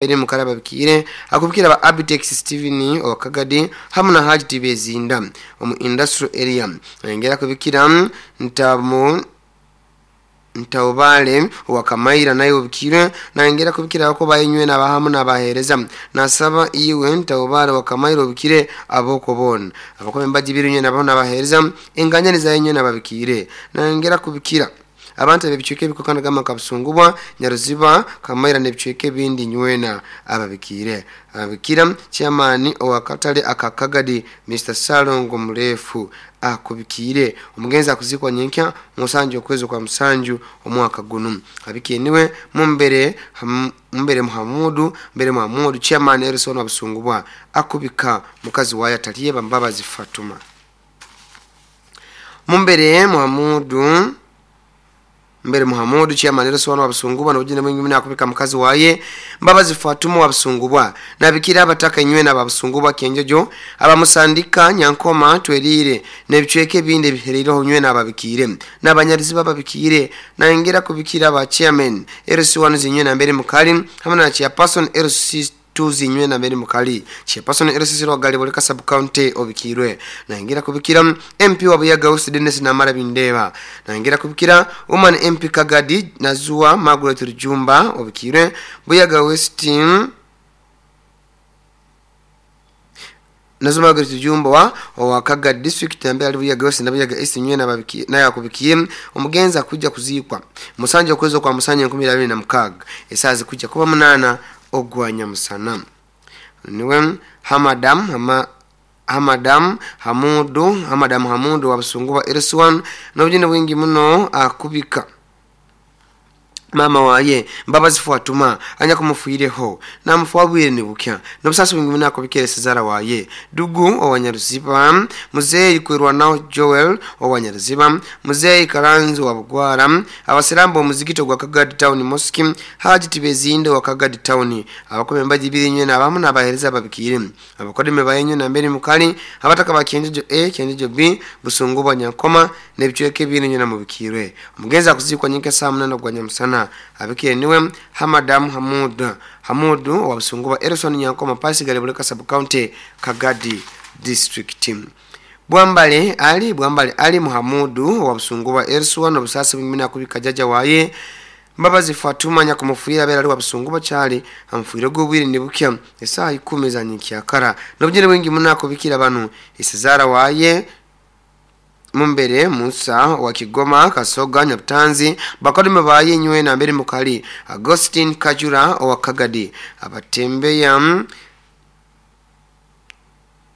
Eri mukara babikire akubikira ba Abitex Steven Okagadi hamu na Haji Tibezinda omu industrial area. Engera kubikira ntamu Ntaubale wakamaira naye obikire nangera kubikira ko bayinywe nabahamu nabahereza nasaba iwe Ntaubale wakamaira obikire aboko bona abakombe mbajibirunywe nabo nabahereza enganya nizayinywe nababikire nangera kubikira abantu ebicweke ebikokana gama kabusungubwa Nyaruziba Kamaira n'ebicweke ebindi nywena ababikire ababikira chairman owakatale akakagadi Mr Salongo Murefu akubikire omugenzi akuzikwa nyenkya musanju okwezi kwa musanju omwaka guno abikiye niwe mumbere mumbere Muhamudu mbere Muhamudu chairman Erison Abusungubwa akubika mukazi waye ataliye Mbabazi Fatuma mumbere Muhamudu mbere Muhamudu chairman Erison Abusungubwa n'obujine mwingi muna akubika mukazi waye Mbabazi Fatuma Wabusungubwa nabikira abataka inywe na Babusungubwa Kenjojo abamusandika Nyankoma Twerire n'ebicweke ebindi ebihereireho nywe nababikire n'abanyarizi bababikire nangera kubikira ba chairman Erison zinywe na mbere mukali hamwe na chairperson Erison tuzinywe na mbere mukali chairperson Erison Rwagali boleka sub county obikirwe naingira kubikira MP wa Buyaga West Dennis Namara Bindeba naingira kubikira woman MP Kagadi Nazua Margaret Rujumba obikirwe Buyaga West Nazua Margaret Rujumba wa Kagadi district ambaye ali Buyaga West na Buyaga East nywe na babiki naye akubikiye omugenza kujja kuzikwa musanje okwezo kwa musanje 2026 esazi kujja kuba 8 ogwanya musana niwe hamadam hamadam hamudu hamadam hamudu Wabusungubwa Erison n'obujine bwingi muno akubika mama waye Mbabazi Fatuma anya kumufuireho namufuabwire nibukya nobusasi bwingi muno akubikere Cesara waye dugu owanyaruziba muzeyi kwirwanaho Joel owanyaruziba muzeyi Karanzi wa Bugwara abasirambo omuzigito gwa Kagadi Town Mosque Haji Tibezinde wa Kagadi Town abakome mbajibiri nywe nabamu nabahereza babikire abakodeme bayenyo na mbere mukali abataka bakenjejo A kenjejo B Busungubwa Nyankoma n'ebicweke ebindi nywe namubikirwe omugenzi akuzikwa nyinka saa 8 gwa nyamusana abikire niwe Hamadam Hamudu Hamudu wa Busungubwa Erison Nyankoma Pasigale Buleka sub county Kagadi district. Bwambale Ali Muhamudu wa Busungubwa Erison obusasi bwimina kubika jaja waye Mbabazi Fatuma nyakumufuyira bera ali wa Busungubwa chali amfuyire gobwire nibukya esaha 10 za nyikyakara nobujene bwingi munako bikira banu isizara waye Mumbere Musa wa Kigoma Kasoga Nyabutanzi bakodime baye nywe na mbere mukali Agustin Kajura wa Kagadi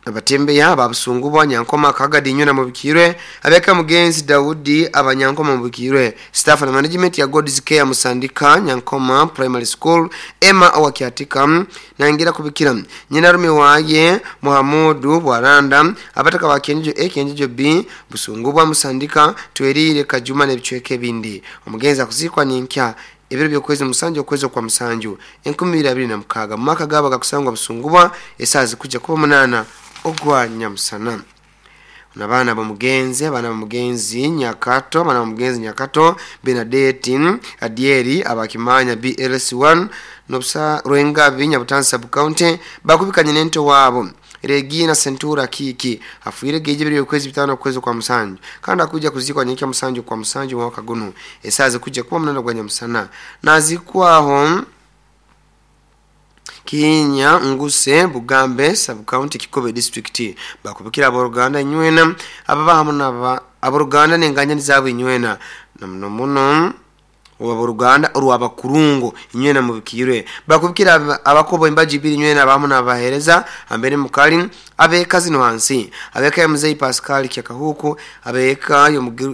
abatembeya Babusungubwa Nyankoma Kagadi nywe na mubikirwe abeka mugenzi Daudi abanyankoma mubikirwe staff na management ya God's Care Musandika Nyankoma Primary School Emma wa Kiatika nangira kubikira nyinarume waye Muhamudu Bwaranda abataka ba Kenjo A Kenjo B Busungubwa Musandika Twerire Kajuma n'ebicweke bindi omugenzi akuzikwa ninkya ebiro byokwezi musanju okwezi kwa musanju 2026 mu mwaka gaba gakusangwa Busungubwa esazi kujja kuba 8 ogwa nyamusana. Nabana bamugenzi abana bamugenzi Nyakato abana bamugenzi Nyakato Benadette Adieri abakimanya BLS1 nobsa Rwengabi Nyabutansi sub county bakubikanye nento wabo Regina Sentura Kiki afuire geje biri okwezi 5 okwezi kwa musanju kandi akuja kuzikwa nyika musanju kwa musanju mwaka guno esazi kujja kuba 8 gwa nyamusana nazikwaho Kinya Nguse Bugambe sub county Kikobe district bakubikira aboruganda nywena ababa hamwe naba aboruganda nenganya nizabo inywena namuno muno oboruganda orwabakurungo inywena mubikirwe bakubikira abakobo imbaji biri nywena abamu nabahereza ambere mukali abeka zino hansi abeka ya mzee Pascal Kyakahuku abeka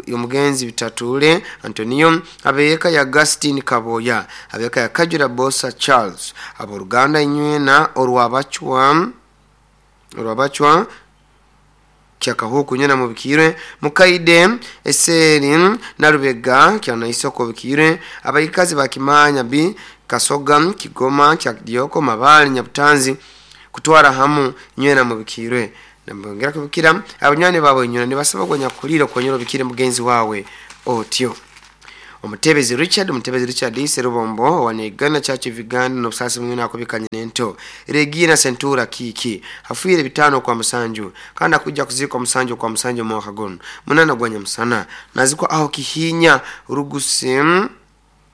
yomugenzi Bitatule Antonio abeka ya Agustin Kaboya abeka ya Kajura Bosa Charles aboruganda inywena orwabachwa Kyakahuku nyena mubikirwe mukaide eseri narubega kyana isoko bikirwe abayikazi bakimanya bi Kasoga Kigoma Kyadioko Mabali Nyabutanzi kutwara hamu nywena mubikirwe nambongera kubikira abanywani babo nywena nibasaba gwanyakulira konyero bikire mugenzi wawe otyo. Omutebezi Richard, Omutebezi Richard Serubombo wa Uganda Church of Uganda, n'obusaasi mwina akubikanye n'ento Regina Sentura Kiki afiire 5 kwa musanju kandi akujja kuziikwa 7 kwa musanju mwaka guno 8 gwa nyamusana, nazikwa aho Kihinya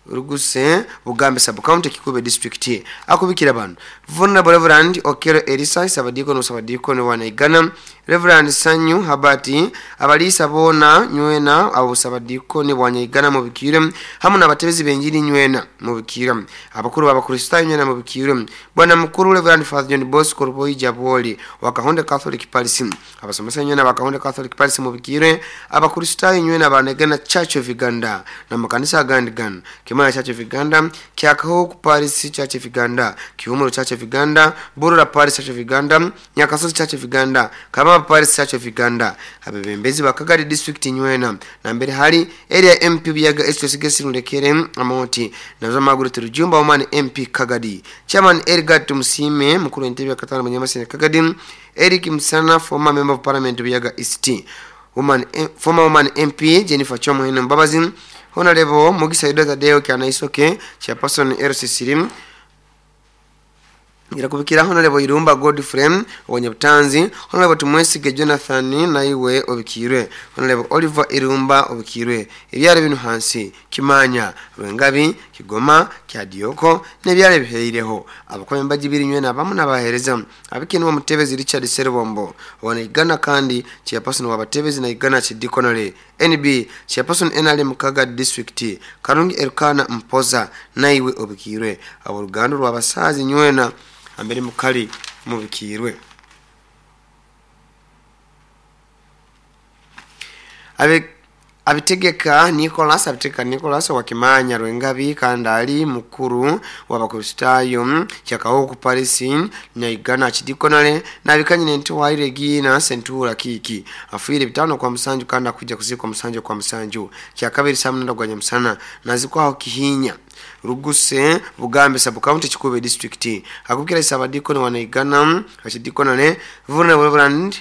Ruguse Bugambe sub county, Kikube district. Akubikira bano Vulnerable Reverend Okero Elisa Sabadiko no Sabadiko no wana Uganda, Reverend Sanyu Habati, abalisa bona nywena abo Sabadiko ni bwanya Uganda mubikire, hamwe n'abatebezi benjiri nywena mubikire, abakuru b'abakristayo nywena mubikire, bwana mukuru Reverend Father John Bosco Ruboyi Jaboli wa Kahonde Catholic Parish, abasomesa nywena ba Kahonde Catholic Parish mubikire, abakristayo nywena ba Uganda Church of Uganda na makanisa agandi gana Kimaya Church of Uganda, Kyakaho Parish Church of Uganda, Kihumuro Church of Uganda, Burura Parish Church of Uganda, Nyakasozi Church of Uganda, Kababa Parish Church of Uganda, abebembezi ba Kagadi District nywena na mbere hari area MP Buyaga East Nulekere Amoti nazo Margaret Rujumba Woman MP Kagadi, Chairman Edgar Tumusime mukuru entebe ya katano Munyamasene Kagadi, Eric Msana former member of parliament Buyaga East, woman former woman MP Jennifer Chomuhene Mbabazi, Honorable Mugisa Yuda Tadeo Kyanaisoke Chairperson RC Sirim, irakubikira Honorable Irumba Godfrey Wanyabutanzi, Honorable Tumwesige Jonathan naiwe obikirwe, Honorable Oliver Irumba obikirwe, ebyalo bino hansi Kimanya, Rwengabi, Kigoma, Kyadioko n'ebyalo biheireho abakombe mbagibiri nywena abamu n'abahereza abikinwa Mutebezi Richard Serubombo wana Uganda kandi Chairperson w'abatebezi na Uganda Chidikonole NB Chairperson NRM Kaga District Karungi Elkana Mpoza naiwe obikirwe, aboluganda rw'abasazi nywena ambere mukali mubikirwe. Abitegeka Nicholas, abitegeka Nicholas wa Kimanya Rwengabi kandi ali mukuru w'abakristayo kyakaho ku Paris na Uganda Chidikonale nabikanye nento wa Regina Sentura Kiki afiire 5 kwa musanju kandi akujja kuzikwa 7 kwa musanju kyakabiri saa 8 gwa nyamusana nazikwaho Kihinya Ruguse Bugambe sub county Kikube district. Akubikira Sabadiko wa Uganda Chidikonale Vulnerable Reverend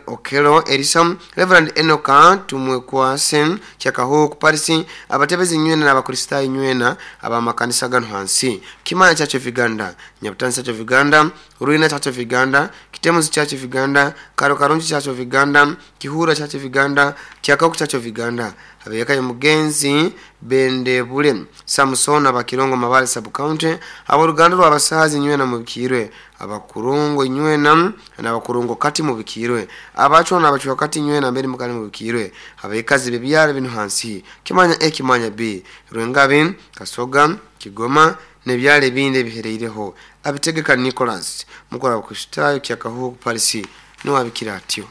Okelo Elisa, Reverend Enoka Tumwekwase Kyakaho ku Paris, abatebezi nywena n'abakristayo nywena abamakanisa gano hansi Kimanya Church of Uganda, Nyabutansi Church of Uganda, Ruina Church of Uganda, Kitemuzi Church of Uganda, Karo Karungi Church of Uganda, Kihura Church of Uganda, Kyakaku Church of Uganda, abeyekayo Mugenzi Bendebule Samson abakirongo Mabale sub county, aboluganda rw'abasazi nywena mubikirwe, abakurungo nywena n'abakurungo kati mubikirwe, abachwa n'abachwa kati nywena mbere mukali mubikirwe, abekazi bebyalo bino hansi Kimanya A, Kimanya B, Rwengabi, Kasoga, Kigoma n'ebyalo ebindi ebihereireho. Abitegeka Nicholas mukora wa Kristayo Kyakaho Paris niwabikira atyo.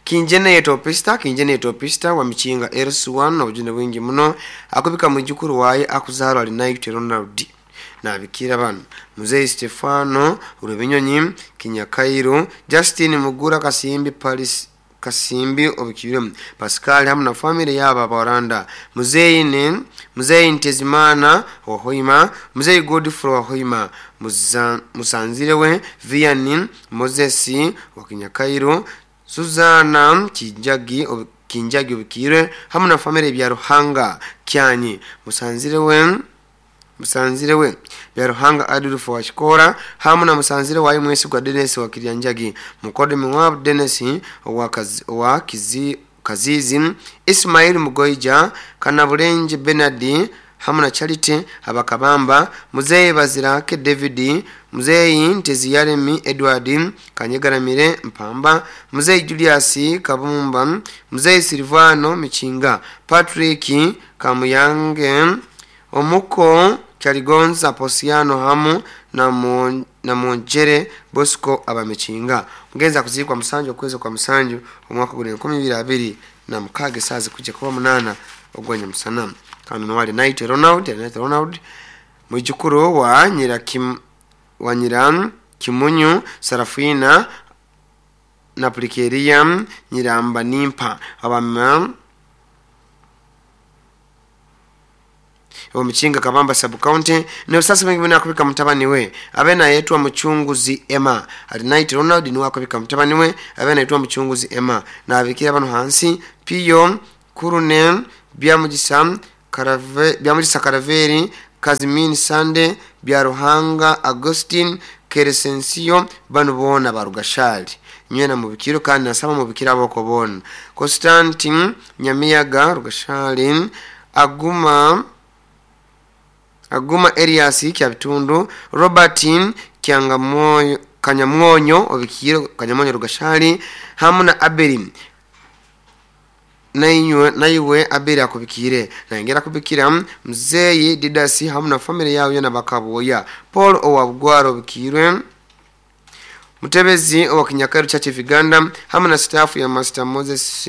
Kinjene yetopista, Kinjene yetopista wa Michinga RS1 obujune bwingi muno akubika mujukuru waye akuzarwa ali Night Ronald nabikira bano Mzee Stefano Rubinyonyi Kinyakairo Justin Mugura Kasimbi Paris Kasimbi obikire Pascal hamwe na family yaba Baranda, Mzee Mzee Ntezimana wa Hoima, Mzee Godfrey wa Hoima, Musanzirewe Vianney Moses wa Kinyakairo, Suzana Kinjagi Kinjagi obikire hamwe na family bya Ruhanga Kyanyi, Musanzirewe bya Ruhanga Adolf wa Shikora hamwe na Musanzire wa Mwesi gwa Dennis wa Kiryanjagi, Mukodemi wa Dennis wa Kazizi, Ismail Mugoija, Kanabulenje Bernard hamwe na Charity Abakabamba, Mzee Bazirake David, Mzee Nteziyaremi Edward Kanyegaramire Mpamba, Mzee Julius Kabumba, Mzee Silvano Michinga, Patrick Kamuyange, Omuko Kyaligonza Posiano hamu na Monjere Bosco abamichinga. Mugenza kuzikwa musanju okwezi kwa musanju omwaka guli 2026 sazi kujja kuba 8 ogwanya musana. Kano wali Night Ronald, Night Ronald mwijukuru wa Nyira Kimunyu Sarafina na Plikeria Nyiramba Nimpa abama Omukinga Kabamba sub county. N'obusasi bwingi muno akubika mutabani we abe nayetwa Mucunguzi Emma. Alinaiti Ronald niwe akubika mutabani we abe nayetwa Mucunguzi Emma. Nabikira bano hansi Piyo Kurune Byamugisa Byamugisa Karaveri Kazimini Sande Byaruhanga Augustine Keresensio bano boona barugashali nywena mubikiro kandi nasaba mubikira aboko boona. Constantine Nyamiyaga Rugashali Aguma Elias Kyabitundu Robert Kyangamoyo Kanyamwonyo obikiro Kanyamwonyo Rugashali hamu na Abeli naiwe Abeli akubikire naingera kubikira mzeyi Didasi hamu na family yao yona bakaboya. Paul Owabugwaro obikirwe Mutebezi owa Kinyakaru Church of Uganda hamu na staff ya Master Moses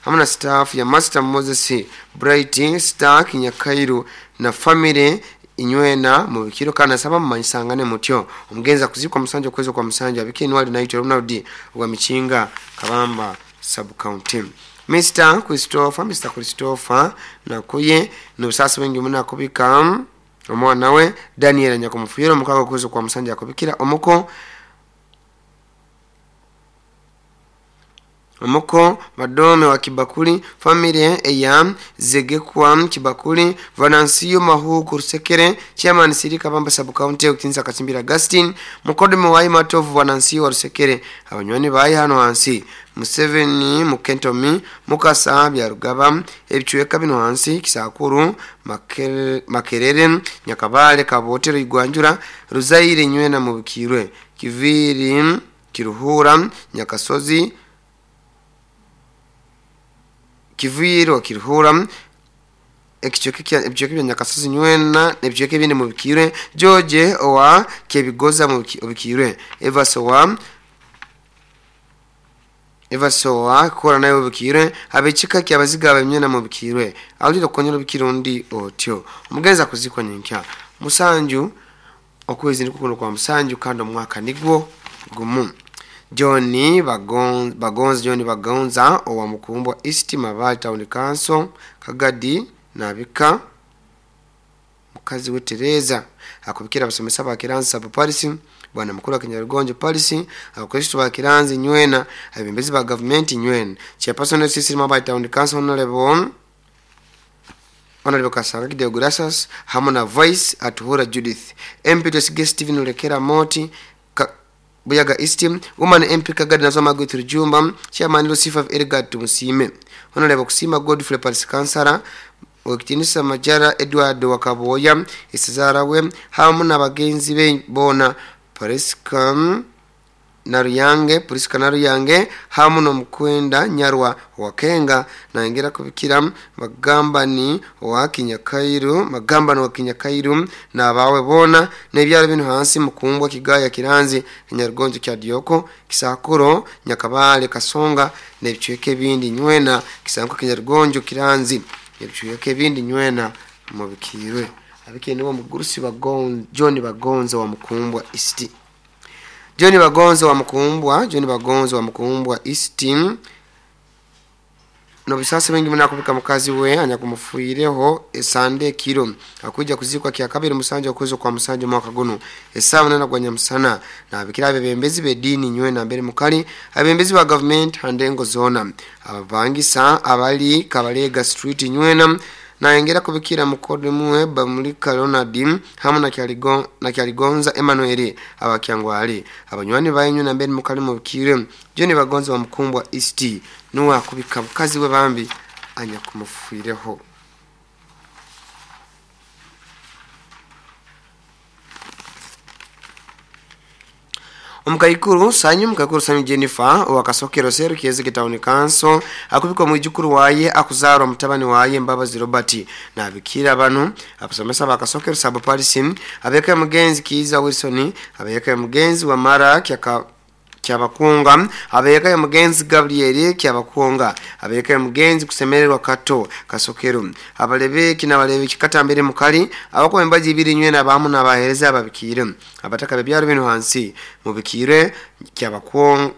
hamu na staff ya Master Moses Bright Star Kinyakairu na family inywena mubikiro kana saba mumanyisangane mutyo. Omugenzi akuzikwa Musanja okwezi kwa Musanja abikire Nwali Naito Ronald wa Michinga Kabamba sub county. Mr Christopher nakuye n'obusasi bwingi muno akubika omwana we Daniel Nyakumufuyiro mukago okwezi kwa Musanja akubikira omuko Madome wa Kibakuli familia eya Zegekwa Kibakuli Vanansiyo Mahuku Rusekere chairman Siri Kabamba sub county Ukinza Katimbira Augustine Mukodome wa Matovu Vanansiyo wa Rusekere abanywani bayi hano hansi Museveni Mukentomi Mukasa Byarugaba ebichweka bino hansi Kisakuru Makerere Nyakabale Kabotero Igwanjura Ruzaire nywena mubikirwe Kiviri Kiruhura Nyakasozi Kiviro Kiruhura ekichweka bya Nyakasozi nywena ebichweka bine mubikirwe George owa Kebigoza mubikirwe Evasowa kora nayo bukirwe abechika kyabaziga abemyena mubikirwe aliro konyero bikirundi otyo. Omugenza kuzikwa nyenkya Musanju okwezi nikukuno kwa Musanju kando mwaka nigwo gumu. Johnny Bagonza owa Mukumbwa East Mabali Town Council Kagadi nabika mukazi we Tereza akubikira abasomesa ba Kiranzi sub Paris bwana mukuru wa Kinyarugonjo Paris abakristo ba Kiranzi nywena abembezi ba government nywena chairperson of Mabali Town Council Honorable Kasanga Deogratias hamu na Vice Atuhura Judith MP Tusige Stephen Olekera Moti Buyaga East Woman MP Kagadi nazo Magwe Rujumba chairman Lucifer Edgar Tumusime Honorable Kusima Godfrey Paris Kansara Okitinisa Majara Edward Wakaboya Isizarawe hamu na bagenzi be bona Priska Naruyange hamu no Mukwenda Nyarwa Wakenga naingera kubikira Magambani wa Kinyakairu na bawe bona nebyaro bino hansi Mukumbwa Kigaya Kiranzi Kinyarugonjo kya Dioko Kisakuro Nyakabale Kasonga nebichweke bindi nywena Kisanko Kinyarugonjo Kiranzi nebichweke bindi nywena mubikirwe abikire nibo mugurusi John Bagonza wa Mukumbwa East John Bagonza wa Mukumbwa East no bisasa bengi muna mukazi we anyakumufuireho esande kiro akuja kuzikwa kya kabiri Musanja okwezo kwa Musanja mwaka guno esawa nana gwa Nyamusana na abikira abebembezi bedini nywena mbere mukali abembezi ba government handengo zona ababangisa abali Kabalega Street nywena naengera kubikira mukodemu Bamulika Ronald hamu na Kyaligonza Emmanuel abakyangwali abanywani bayenyu na mbere mukali mubikire John Bagonza wa Mukumbwa East nuwa kubika mukazi we bambi anyakumufuireho. Omukaikuru Sanyu Jennifer wakasokero seru Kiezeke Town Council akubikwa mwijukuru waye akuzarwa mutabani waye Mbabazi Robert na abikira bano abasomesa bakasokero sub Paris abeka mugenzi Kiza Wilson abeka mugenzi wa Mara Kyabakunga abeka mugenzi Gabriel Kyabakunga abeka mugenzi kusemererwa Kato Kasokero abalebeki nabalebeki katambere mukali abako embaji ibiri nywena abamu nabahereza ababikire abataka bebyaro bino hansi mubikire Kyabakunga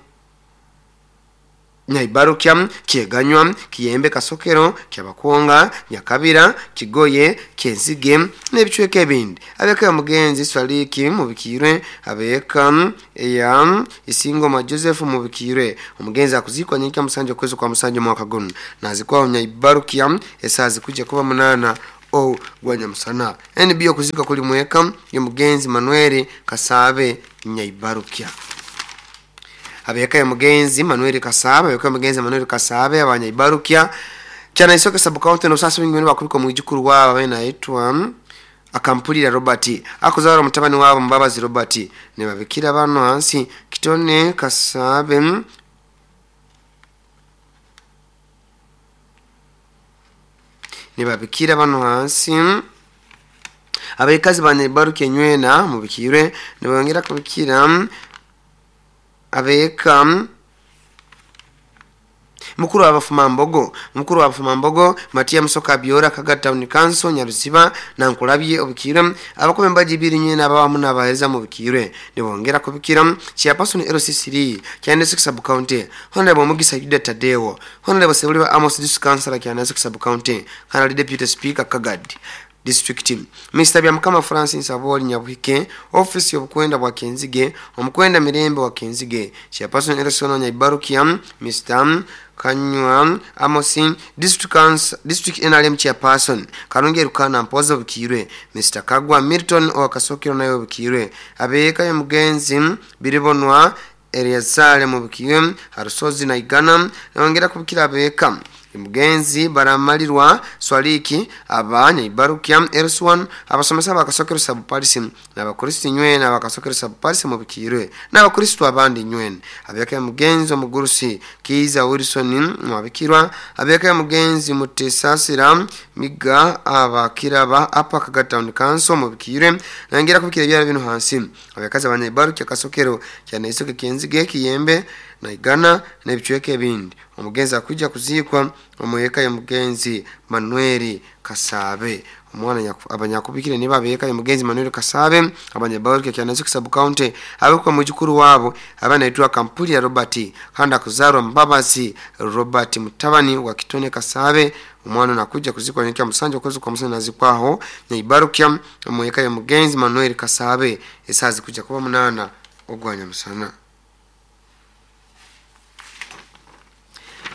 Nyaibarukya, Kyeganywa, Kiyembe, Kasokero, Kyabakwonga, Nyakabira, Kigoye, Kyenzige n'ebicweka ebindi. Abeka ya mugenzi Swaliki mubikirwe, abeka ya Isingoma Joseph mubikirwe. Omugenzi akuzikwa nyenkya musanje okwezi kwa musanje mwaka guno, nazikwaho Nyaibarukya esaa zikujja kuba 8 o gwanyamusana. NB okuzika kuli mweka y'omugenzi Manuel Kasabe Nyaibarukya. Abeka ya mugenzi Manuel Kasabe, abeka ya mugenzi Manuel Kasabe abanyaibarukya kyana isoke sub county no sasa wingi bakubika mwijukuru wabo abena yitwa Akampulira Robert akuzara mutabani wabo Mbabazi Robert ne babikira bano hansi Kitone Kasabe ne babikira bano hansi abekazi banyaibarukya nywena mubikirwe ne bongera kubikira abeka mukuru w'abafumambogo, mukuru w'abafumambogo Matia Musoka Biora Kaga Town Council Nyaruziba na Nkulabye obukirwe abakome mbaji biri nyene abawamu n'abahereza mu bukirwe nibongera kubikira chairperson LCC kyane 6 sub county Honorable Mugisa Yuda Tadeo, Honorable Sebuliba Amos District Councilor kyane 6 sub county Honorable Deputy Speaker Kagad District Mr. Byamukama Francis Aboli Nyabuhike office y'obukwenda bwa Kenzige omukwenda mirembe wa Kenzige chairperson LCC Nyaibarukia Mr. Kanywa Amosin District Council District NRM chairperson Karungi Rukana Mpozo Bukirwe Mr. Kagwa Milton wa Kasokero nayo Bukirwe abeka ya mugenzi Biribonwa Eliazare mu Bukirwe Harusozi na Igana nongera kubikira abeka mugenzi Baramalirwa Swaliki abanya Ibarukia Elswan abasomesa bakasokero sub parisi n'abakristo nywena abakasokero sub parisi mu Bukirwe n'abakristo abandi nywena abeka mugenzi omugurusi Kiza Wilson mwabikirwa abeka mugenzi Mutesasira Miga abakiraba apa Kaga Town Council mu Bukirwe nangera kubikira byara bino hansi abakaza abanya Ibarukia Kasokero cyane isoke Kenzige Kiyembe na Igana n'ebicweke ebindi. Omugenzi akujja kuzikwa omweka ya mugenzi Manuel Kasabe omwana abanyakubikire niba abeka ya mugenzi Manuel Kasabe abanyabaruke kyana sub county abekwa mujukuru wabo abana itwa Kampuli ya Robert kandi akuzarwa Mbabazi Robert mutabani wa Kitone Kasabe omwana nakuja kuzikwa nyenkya musanje okwezi kwa musanje nazikwaho Nyaibarukya omweka ya mugenzi Manuel Kasabe esazi kuja kuba 8 ogwanya musana.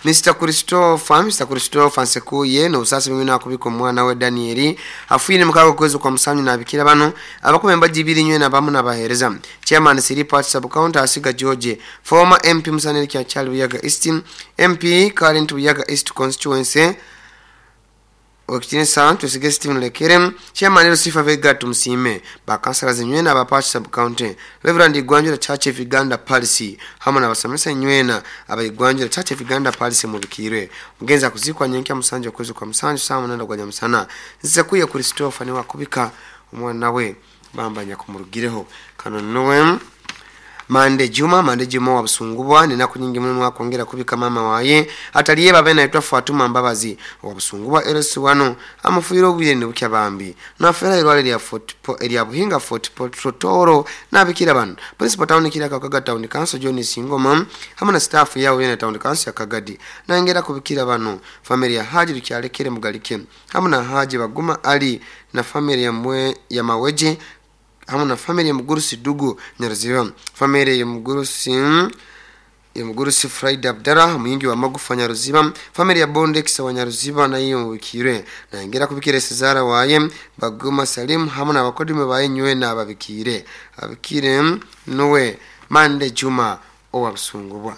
Mr. Christopher Nsekuye no usasi mimi nakubika omwana we Danieli afuine mukago kwezi kwa musanyu nabikira bano abakume mbaji biri nywe na bamu nabahereza chairman Siri Party sub county Asiga George former MP Musaneri kya Charles Buyaga East MP current Buyaga East constituency Okitine Santo Sige Steven Lekere chairman Lucifer Vega tumsime bakansala zinywena abapachi sub county Reverend Igwanjura Church of Uganda Policy hamwe n'abasomesa nywena abayigwanjura Church of Uganda Policy mu Bukirwe mugenza kuzikwa nyenkya musanje kwezi kwa musanje saa 8 gwa nyamusana nzekuye Christopher ni wakubika omwana we bambanya kumurugireho kano nowe Mande Juma wa Busungubwa nina kunyingi muno mwakongera kubika mama waye ataliye babe naitwa Fatuma Mbabazi wa Busungubwa LS1 amufuyiro obwire ne bukya bambi nafera irwale lya Fort lya Buhinga Fort Totoro nabikira bano Principal Town kira Kaga Town Council John Singoma hamwe na staff yawo yene Town Council ya Kagadi nangera kubikira bano family ya Haji Rukyalekere Mugalike hamwe na Haji Baguma Ali na family ya Mwe ya Maweje hamwe na family ya Mugurusi Dugu Nyaruziba family ya Mugurusi Friday Abdara muyingi wa Magufa Nyaruziba family ya Bondex wa Nyaruziba na iyo mubikire nangera kubikire Cesara waye Baguma Salim hamwe na abakodime baye nywe na ababikire abikire nuwe Mande Juma owa Busungubwa.